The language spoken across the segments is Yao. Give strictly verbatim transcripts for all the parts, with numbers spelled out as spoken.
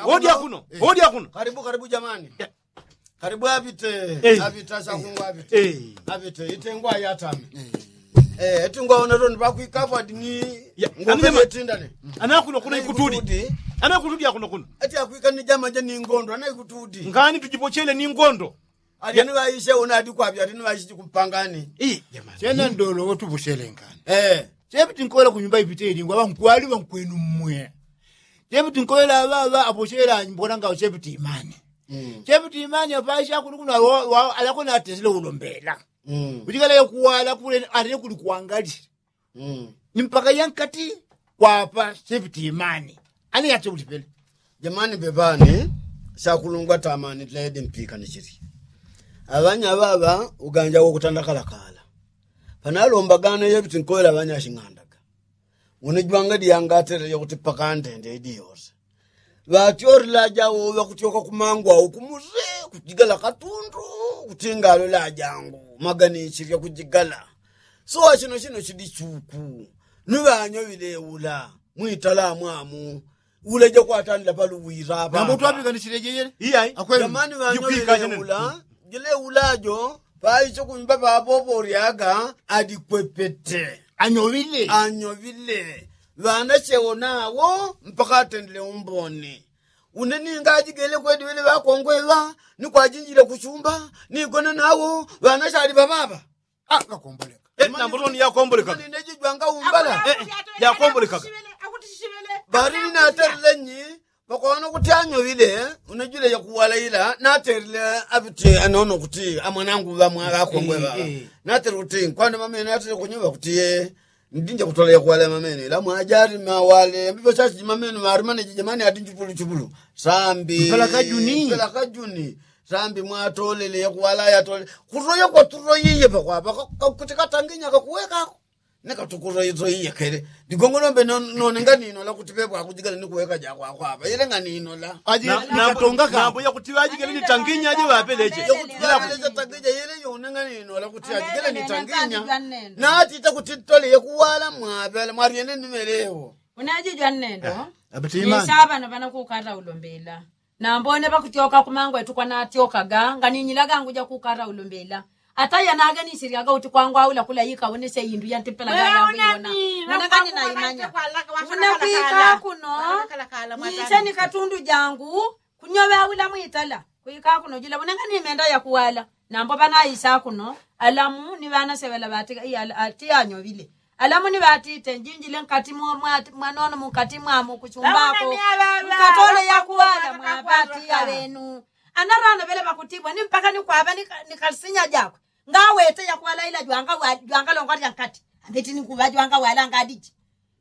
Odya kuno, odya kuno. Karibu, karibu jamani. Karibu apite. Apite asakungwa apite. Apite itengwa yatame. Eti ngwaona toni pakwikapo adi ni ngombe etindane. Anakuno kuno ikutudi. Anaikutudi akuno kuno. Eti akwika ni jama ja ni ngondo anaikutudi. Ngani tujipochele ni ngondo. Alyani ŵaishe una adi kwapya alyani ŵaishe chikumpangani. Chena ndolo wotupochele ngani. Chepiti nkola kunyumba ipite ilingwa ŵankwali ŵankwenu mmwe. Chepiti nkola aŵaŵa apochele anyumbona ngao chepiti imani. Chepiti imani apaisha kuno kuno alakona atesile ulombela. Kuchikala yakuwala kule atile kuli kwangalile. Ni mpaka yankati kwapa sepiti imani. Ani yatse kuti pele. Jamani pepani. Syakulungwa tamani tlaedi mpikani chili. Aŵanya ŵaŵa uganja wokutanda kalakala. Panalombagana yepiti nkoela aŵanya ashing'andaga. Une jwanga diyanga atele yakuti pakandende idiyose. Ŵatyolile ajawo ŵakutyoka kumangwa uku muse kujigala katundu. Kutingalo lajangu maganichilya kujigala. Sowa chino chino chili chuku. Ni ŵanyo ŵileula mwitala mwamu. Ule jakwatandila paluwira ŵamba utwapikanichile jeyele. Iyai. Akweli. Jamani ŵanyo ŵileula. Jileula jo paicho kunyumba papopo ulyaga. Adikwepete. Anyoŵile. Anyoŵile. Ŵana chewo nawo mpaka atendile umboni. Une ninga ajigele kwedi ŵele ŵakongwe ŵa ni kwajinjile kuchumba. Nigone nawo ŵana chali ŵaŵaŵa. Ŵakomboleka. Nambo toni yakomboleka. Jwanga umbala. Yakomboleka. Bali ni naterile nyi. Pakono kuti anyoŵile. Une jwile yakuwala ila naterile. Apiti anono kuti amwanangu ŵamwa ŵakongwe ŵa. Naterile kuti nkwani mamene naterile kunyuŵa kuti ye. Ndinja kutola yakuwala mamene ila mwajali mawale mbipo chachi mamene marimane jijamani ati njupulu chupulu. Sambi mpela kajuni. Sambi mwatolele yakuwala yatolele. Kutoya kwatutoyiye pakwapa kuti katanginya kakuwekako. Nikatukutoyitoyiye kele. Ndigongolombe nonenga ninola kuti pepo akujigala nikuweka jakwakwapa ile nga ninola. Nambo yakuti ŵajigele ni tanginya aje ŵapeleche. Tanginya ile yonenga ninola kuti ajigele ni tanginya. Natita kuti tole yakuwala mwapela mwaryene nimelewo. Unaji jwannendo. Ni saŵano ŵana kukata ulombela. Nambone ŵakutyoka kumangwe tukwanatyokaga nganinyila gangu jakukata ulombela. Ata yanaganisiryaga uti kwangwaula kula yikawonesye indu yantipelaga yakuiwona. Unangani naimanya. Unakwika kuno. Nyise ni katundu jangu. Kunyoŵe aula mwitala. Kwika kuno jila unangani imenda yakuwala. Nambo ŵanaisa kuno alamu ni ŵanaseŵela ŵati anyoŵile. Alamuni ŵatite njinjile nkati mwanono munkati mwamo kuchumbako. Nkatole yakuwala mwaŵati aŵenu. Anarano ŵele ŵakutibwa ni mpaka ni kwaŵa ni kalisinya jakwe. Ngawete yakuwala ila jwangalongwa lyankati ambeti ni kuŵa jwangawala ngadiji.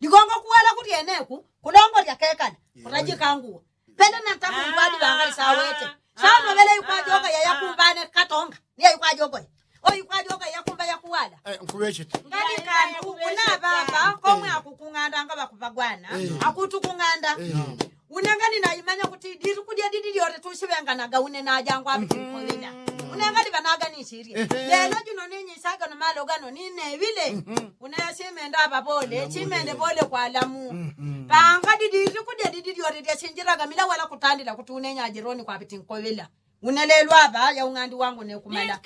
Ligongo kuwala kulyeneku kulongwa lyakekala. Kutajikanguwa. Pele nantakundu adi ŵangali sawete. Sano ŵele yikwajoka yayakumbane katonga. Niya yikwajoka yakumba yakuwala. Nkuŵechete. Ngani kandu una ŵamba komwe akukung'anda nga ŵakupagwana. Akutukung'anda. Una ngani naimanya kuti ditu kudya didi lyote tusiŵenganaga une najangwa apitinkolila. Una ngani ŵanaganisirye. Lelo juno ninyisagano malo gano nineŵile. Una yasimenda aŵaŵole chimende ŵole kwalamu. Panga didi likudya didi lyote lyasinjilaga mila wala kutandila kuti une nyajironi kwapiti nkoŵela. Une lelo aŵa yaung'andi wangu nekumala.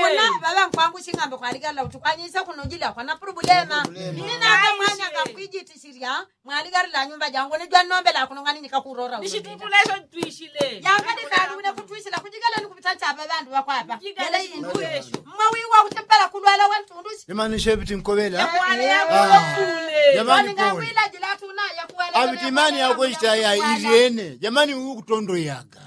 Una ŵaŵa nkwangu sing'ambe kwaligalila kuti kwanyisa kuno jila kwana pulubulema. Ini nake mwana kakwijitisirya mwaligalila nyumba jangu une jwannombela kuno ngani nikakurora ulemeja. Yangani kandu une kutwisila kujigaleni kupita chaŵe ŵandu ŵakwapa. Yele indu mwawiwa kuti mpela kulwala wantundusi. Imanishe piti nkoŵela. Jamani pole. Aŵiti imani yakwe ichita ya ilyene jamani uyu kutondoyaga.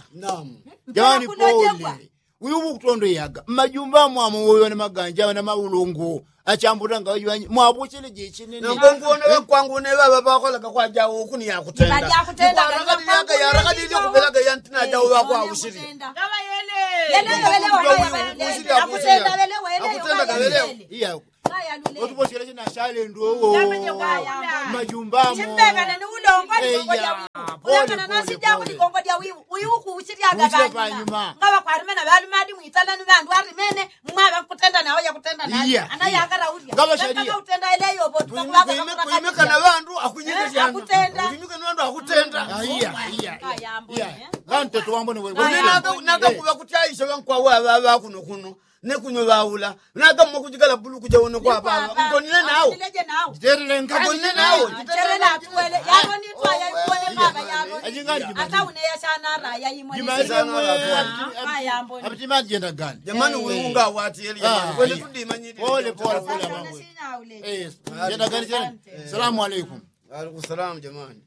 Jamani pole. Uyu kutondoyaga mmajumba mwamo woyo na maganja na maulongo. Achambutanga wajiwanyi mwapochele jechenene. Ngonguone ŵankwangu une ŵaŵa ŵakolaga kwajawo kuni yakutenda. Yarakadilye kupelaga yantina jawo ŵakwausili. Akutendaga ŵelewo. Iya. Otuposyeleche na shalendo owo. Majumbamo. Eya. Kana nasi jangu ligongo lya wiwu wiwu kuuchilyaga. Panyuma nga ŵakwalimena ŵalimadi mwitana ni ŵandu alimene. Mwaŵa kutenda nawo yakutenda naye. Anayakala ulya ngawashalia utenda eleyo vo. Kuimika na ŵandu akunyika syana. Kuimika na ŵandu akutenda. Iya iya. Iya. Ŵandu tetu wambone wewe. Naga kuŵa kutyaisha ŵankwawo aŵaŵa kuno kuno. Nekuno ŵaula naga mwa kujikala bulu kuja uno kwa ŵaŵa ngonile nawo. Ngonile nawo. Apitimani jenda gani? Jamani wiwu ngawati eli jamani kwene tudimanyili. Pole pole pole. Jenda gani jenda. Salamu alaikum. Alaikum salamu jamani.